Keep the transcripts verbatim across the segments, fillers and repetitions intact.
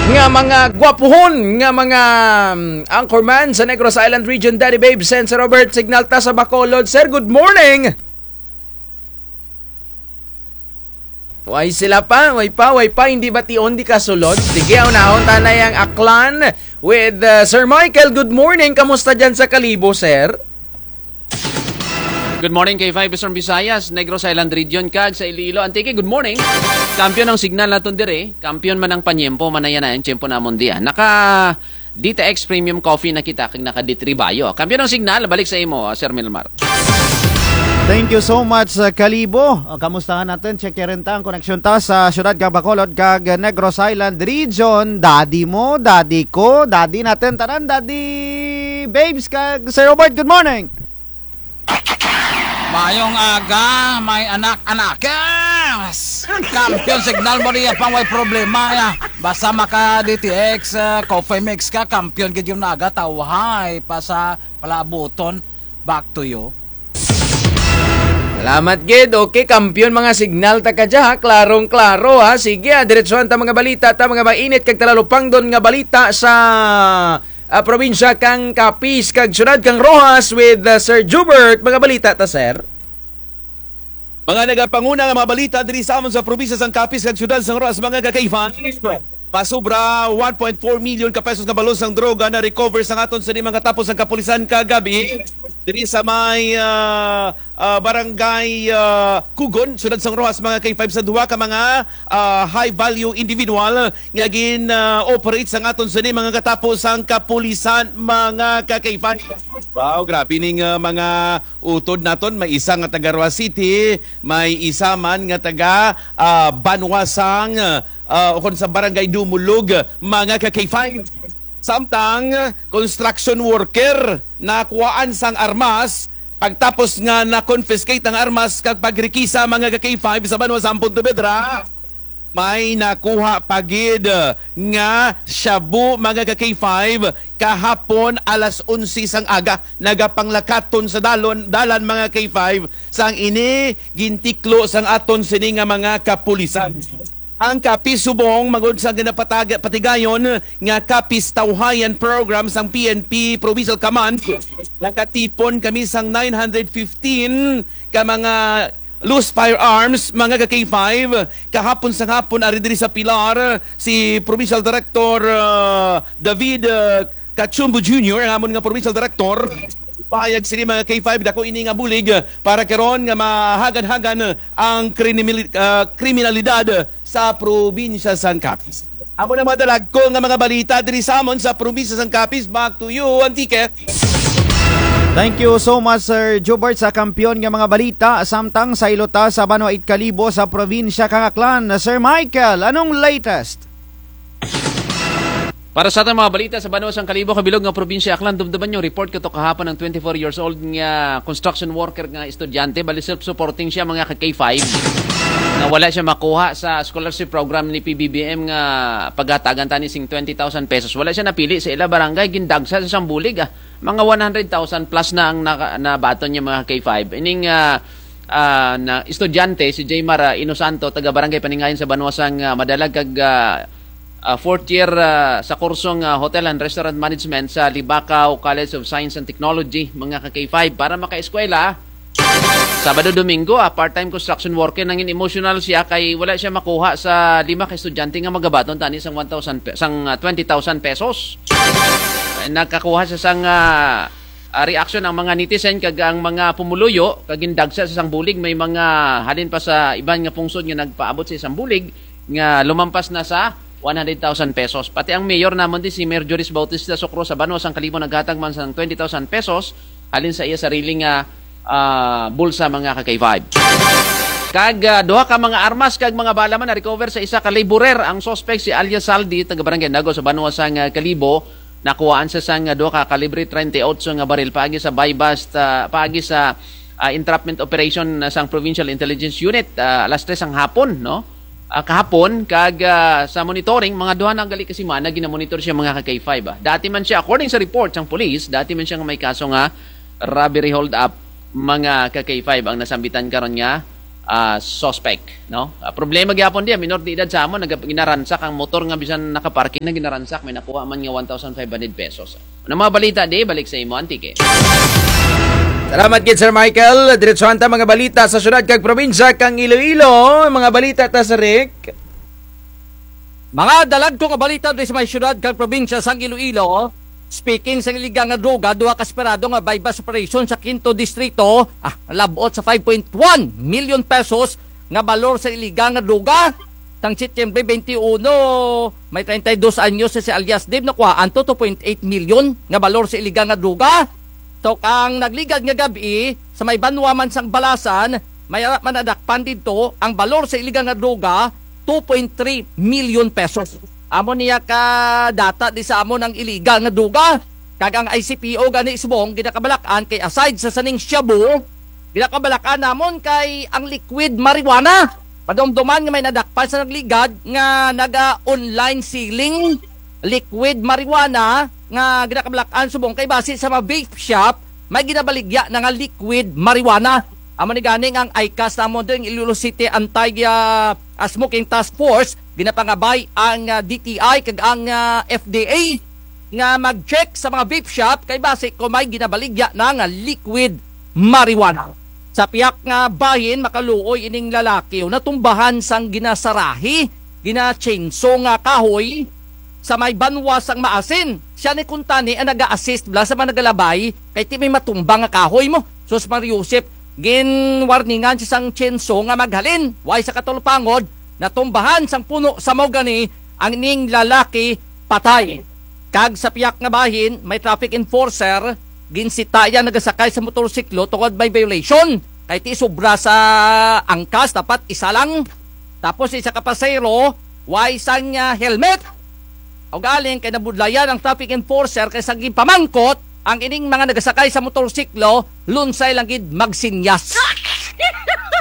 Nga mga gwapuhon nga mga, mm, anchorman sa Negros Island Region, Daddy Babes and Sir Robert, signal ta sa Bacolod. Sir, good morning! Way sila pa, way pa, way pa, hindi bation, di kasulod. Sige, unahon ta na ang Aklan with, uh, Sir Michael. Good morning, kamusta dyan sa Kalibo, sir? Good morning, K five Eastern Visayas, Negros Island Region, kag sa Iloilo, Antique, good morning. Kampiyon ang signal naton diri, kampiyon man ang panyempo, manaya na ang tiyempo namon diya. Naka D T X Premium Coffee na kita, kag naka D three Bio. Kampiyon ang signal, balik sa imo, Sir Milmar. Thank you so much, uh, Kalibo. Uh, kamustahan naton, check rin ta ang koneksyon ta sa siyudad kag Bacolod, kag Negros Island Region. Daddy mo, daddy ko, daddy naton tanan, Daddy Babes, kag Sir Robert, good morning. Maayong aga, may anak-anak. Yes! Kampiyon signal mo diya pang way problema ya. Basta maka D T X, ah, coffee mix ka, kampiyon gid yung naga, tawhay pa sa palaabuton. Back to you. Salamat gid. Okay, kampiyon mga signal ta kadya, ha. Klarong-klaro, ha. Sige, ha. Diretsuhan ta mga balita, ta mga mainit kag talalupangdon nga balita sa ah, probinsya kang Capiz kag siyudad kang Roxas with, ah, Sir Jubert. Mga balita ta, sir. Mga nagapanguna nga mga balita diri sa amon sa probinsya sang Capiz kag siyudad sang Roxas, mga ka-K five. Masobra one point four million ka pesos nga balor sang droga na-recover sang aton sini mga tapo sang kapulisan kagabi diri sa may, ah, ah, barangay, ah, Kugon, siyudad sang Roxas, mga K five, sa duha ka mga, ah, high value individual nga gin, ah, operate sang aton sini mga katapo sang kapulisan, mga ka-K five. Wow, grabe ning, ah, mga utod naton. May isa nga taga Roxas City, may isa man nga taga, ah, banwa sang, ah, ukon sa barangay Dumulog, mga ka-K five. Samtang construction worker nakuhaan sang armas, pagtapos nga na-confiscate ang armas kag pagrikisa, mga ka-K five, sa banwa sa Pontevedra, may nakuha pa gid nga shabu, mga ka-K five, kahapon alas onse sang aga, nagapanglakaton sa dalon, dalan, mga ka-K five, sang ini gintiklo sang aton sini nga mga kapulisan. Ang Capiz subong, magud sa ginapatag-, patigayon nga Capiz Tawhayan Program sang P N P Provincial Command, nakatipon kami sang nine hundred fifteen ka mga loose firearms, mga ka-K five. Kahapon sang hapon, ari diri sa Pilar, si Provincial Director, ah, David, ah, Cachumbo Junior, ang amon nga Provincial Director, pahayag sini, mga K five, dako ini nga bulig para karon nga mahagan-hagan ang kriminali-, ah, kriminalidad sa probinsya sang Capiz. Amo na madala ko nga mga balita diri sa amon sa probinsya sang Capiz. Back to you, Antique. Thank you so much, Sir Jubert, sa kampiyon nga mga balita. Samtang saylo ta sa banwa it Kalibo sa probinsya kang Aklan. Sir Michael, anong latest? Para sa atong mga balita sa banwa sang Kalibo kag bilog nga probinsya Aklan, dumduman ninyo, report kato kahapon ang twenty-four years old nga construction worker nga estudyante, bali self-supporting siya, mga ka-K five, nga wala siya makuha sa scholarship program ni P B B M nga paghatagan tani sing twenty thousand pesos. Wala siya napili sa ila barangay, gindagsa sa sang bulig, ah. Mga one hundred thousand plus na ang naka-, nabaton niya, mga ka-K five. Ining, ah, ah, na estudyante, si Jaymar, ah, Inosanto, taga Barangay Paningayan sa banwa sang, ah, Madalag kag, ah, ah, fourth year, ah, sa kursong, ah, Hotel and Restaurant Management sa Libacao College of Science and Technology, mga ka-K five, para makaeskwela. Sabado, Domingo, ah, part-time construction worker, nangin emotional siya kay wala siya makuha sa lima ka estudyante nga magabaton tani sang one thousand pe-, sang, ah, twenty thousand pesos. Ay, nakakuha siya sang, ah, ah, reaction ang mga netizen kag ang mga pumuluyo, kag gindagsa sa sang bulig, may mga halin pa sa iban nga pungsod nga nagpaabot sa sang bulig nga lumampas na sa one hundred thousand pesos. Pati ang mayor namon di, si Mayor Joris Bautista Socro sa banwa sang Kalibo, naghatag man sang twenty thousand pesos halin sa iya sarili nga, ah, bulsa, mga ka-K five. Kag, ah, duha ka mga armas kag mga bala man na-recover sa isa ka laborer. Ang suspect si alias Saldi, taga Barangay Nago sa banwa sang, ah, Kalibo. Nakuhaan sa sang, ah, duha ka kalibre treinta y ocho nga baril paagi sa buy-bust, ah, paagi sa, ah, entrapment operation, ah, sang Provincial Intelligence Unit, ah, alas tres ang hapon, no? Ah, kahapon, kag, ah, sa monitoring, mga duha na gali ka semana, ginamonitor siya, mga ka-K five, ah. Dati man siya, according sa report sang police, dati man siya nga may kaso nga robbery hold-up, mga ka-K five, ang nasambitan karon nga, ah, suspect, no? Ah, problema gyapon di, minor de edad sa amon, nag-, ginaransak ang motor nga bisan nakaparking na ginaransak, may nakuha man nga one thousand five hundred pesos. Ano mga balita di, balik sa imo, Antique. Salamat gid, Sir Michael. Diretsuhan ta mga balita sa syudad kag probinsya kang Iloilo. Mga balita ta, Sir Rick. Mga dalagko nga balita diri sa may syudad kag probinsya sang Iloilo. Speaking sang iligal nga droga, duha ka esperado nga buy-bust operation sa Quinto Distrito, ah, lab-ot sa five point one million pesos nga balor sa iligal nga droga. Sang Setyembre twenty-one, may treinta y dos anyos si alias Dave, nakuhaan to two point eight million nga balor sa iligal nga droga. So, kang nagligad nga gab-i, sa may banwa man sang Balasan, may ara man nadakpan didto ang balor sa iligal nga droga, two point three million pesos. Amo niya ka data di sa amon ang iligal nga droga. Kag ang I C P O gani subong ginakabalak-an kay aside sa saning shabu, ginakabalak-an namon kay ang liquid marijuana. Padumduman nga may nadakpan sa nagligad nga naga-online selling liquid marijuana nga ginakabalak-an subong kay basi sa mga vape shop, may ginabaligya na nga liquid marijuana. Amo ni gani nga ang ICAS namon diri, Iloilo City Anti, ah, ah, Smoking Task Force, ginapangabay ang, ah, D T I kag ang, ah, F D A nga mag-check sa mga vape shop kay basi kon may ginabaligya na nga liquid marijuana. Sa pihak nga bahin, makaluoy ining lalaki, o, natumbahan sang ginasarahi, gina-chainsaw nga kahoy sa may banwa sang Maasin. Siya ni kuntani ang naga-assist bala sa mga nagalabay, kay ti may matumba nga kahoy mo. Sus Maria Josep, ginwarningan siya sang chainsaw nga maghalin, way sa katalupangod, natumbahan sang puno sa mahogany ang ining lalaki, patay. Kag sa pihak nga bahin, may traffic enforcer, ginsita ya nagasakay sa motorsiklo tungod may violation. Kay ti sobra sa angkas, dapat isa lang. Tapos isa ka pasahero, way sang, ah, helmet. Ugaling kay nabudlayan ang traffic enforcer kay sa ginpamangkot ang ining mga nagasakay sa motorsiklo, lunsay lang gid magsinyas.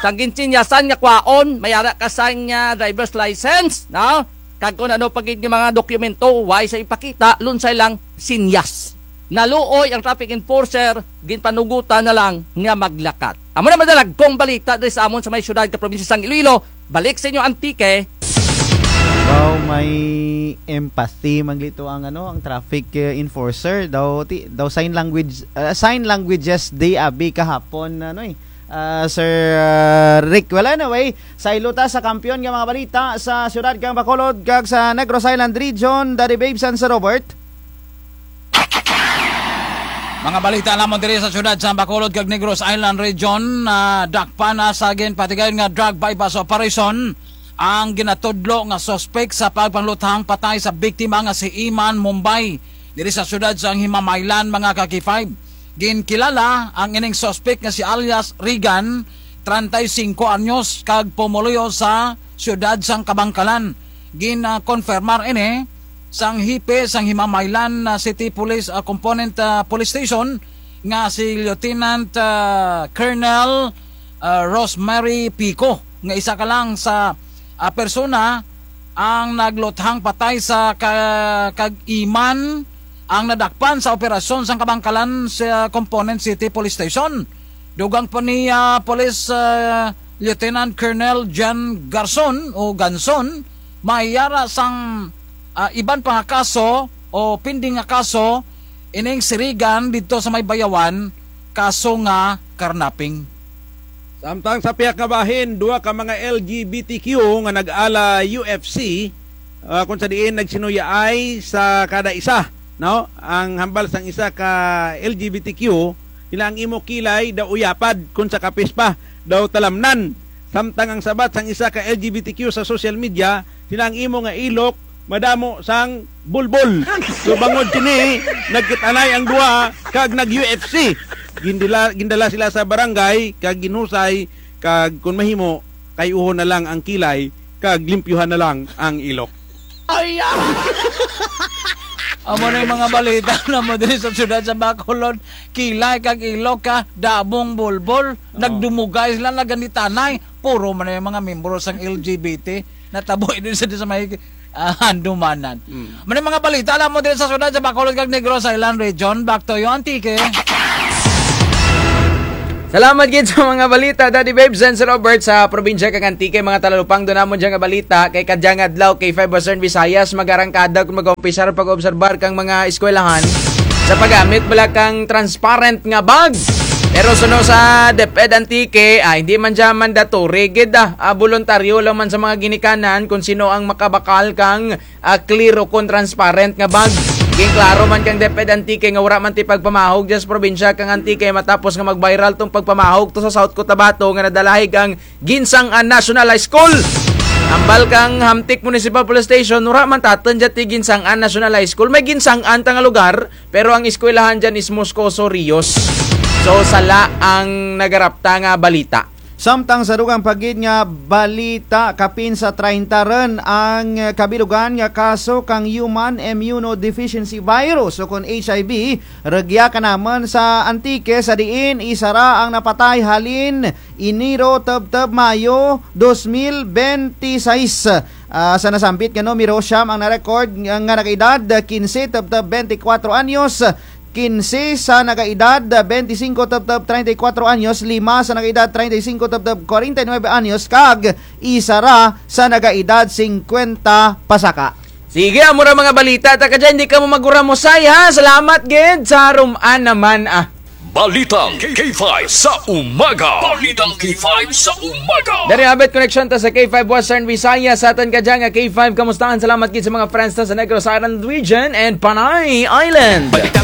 Sang ginsinyasan nga kwaon, may ara ka sang, ah, driver's license, no? Kag kon ano pa gid nga mga dokumento, way sa ipakita, lunsay lang sinyas. Naluoy ang traffic enforcer, ginpanugutan na lang nga maglakat. Amo na madalagkong balita diri sa amon sa may syudad kag probinsya sang Iloilo. Balik sa inyo, Antique. Daw may empathy man gid to ang ano, ang traffic, eh, enforcer. Daw ti-, daw sign language, ah, sign languages day abi kahapon, ano eh. Ah, Sir, ah, Rick, well, anyway, saylo ta sa kampiyon nga mga balita sa syudad kang Bacolod kag sa Negros Island Region, Daddy Babe, San Sir Robert. Mga balita namon diri sa syudad sa Bacolod kag Negros Island Region, nadakpan na sa ginpatigayon nga drug buy-bust operation ang ginatudlo nga suspek sa pagpangluthang patay sa biktima nga si Iman Mumbay diri sa syudad sang Himamaylan, mga ka-K five. Ginkilala ang ining suspek nga si alias Regan, treinta y cinco anyos, kag pumuluyo sa syudad sang Kabankalan. Gin-konfirmar ini sang hepe sang Himamaylan, ah, City Police, ah, Component, ah, Police Station nga si Lieutenant, ah, Colonel, ah, Rosemary Pico, nga isa ka lang sa, ah, persona ang nagluthang patay sa ka-, kag Iman ang nadakpan sa operasyon sang Kabankalan sa Component City Police Station. Dugang pa ni, ah, Police, ah, Lieutenant Colonel John Garson o Ganson, may ara sang, ah, iban pa nga kaso o pending nga kaso ining si Regan didto sa may Bayawan, kaso nga carnapping. Samtang sa pihak nga bahin, duha ka mga L G B T Q nga nag-ala U F C, ah, kung sa diin nagsinuyaay sa kada isa, no? Ang hambal sang isa ka L G B T Q, sila ang imo kilay daw uyapad, kung sa kapis pa daw talamnan. Samtang ang sabat sang isa ka L G B T Q sa social media, sila ang imo nga ilok madamo sang bulbol. So, bangod kini, nagkit-anay ang duha kag nag-U F C. Gindila-, gindala sila sa barangay kag ginhusay kag kon mahimo, kay-uhon na lang ang kilay kag limpyuhan na lang ang ilok. Ay, ah! Amo na yung mga balita namo diri sa syudad sa Bacolod. Kilay kag ilok ka, damong bulbol. Oo. Nagdumugay sila, nagkit-anay. Puro man na yung mga miyembro sang L G B T. Natabo diri sa, sa may, ah, Handumanan. Mm. Amo na yung mga balita namo diri sa syudad sa Bacolod kag Negros Island Region. Back to you, Antique. Salamat gid sa mga balita, Daddy Babes and Sir Robert, sa probinsya kang Antique, mga talalupang, duna man dya nga balita, kay kadyang adlaw, K five Western Visayas, mag-arangkada kon mag-umpisar pag-obserbar kang mga eskwelahan sa paggamit bala kang transparent nga bag. Pero suno sa DepEd Antique, ah, hindi man dya mandatory gid, ah, ah, boluntaryo lang man sa mga ginikanan kon sin-o ang makabakal kang ah, clear ukon transparent nga bag. Ginklaro man kang DepEd Antique nga wara man ti pagpamahog dya sa probinsya kang Antique matapos nga mag-viral tong pagpamahog to sa South Cotabato nga nadalahi kang Guinsang-an National High School. Ambal kang Hamtic Municipal Police Station, wara man tatun dya ti Guinsang-an National High School. May Guinsang-an ta nga lugar, pero ang eskwelahan dyan is Moscoso Rios. So, sala ang nagarapta nga balita. Samtang sa dugang pa gid nga balita, kapin sa treinta run ang kabilugan nga kaso kang human immunodeficiency virus ukon H I V, rugya kanamun sa Antique, sa diin isara ang napatay halin Enero tubtub Mayo dos mil bente sais. Ah, sa nasambit nga numero, siyam ang na-record nga, nga nagaedad kinse tubtub bente kwatro anyos, kinse sa nagaedad bente singko tubtub treinta y cuatro anyos, lima sa nagaedad treinta y cinco tubtub kwarenta y nuebe anyos, kag isara sa nagaedad singkwenta pasaka. Sige, amo ra mga balita ta kadya, hindi kamo mag-uram, Usay, ha. Salamat gid sa rum-an naman, ah. Balitang K five sa umaga. Balitang K five sa umaga. Dari abot koneksyon ta sa K five Western Visayas, sa atun kadya nga K five kamustahan. Salamat gid sa mga friends ta sa Negros Island Region and Panay Island. Balitang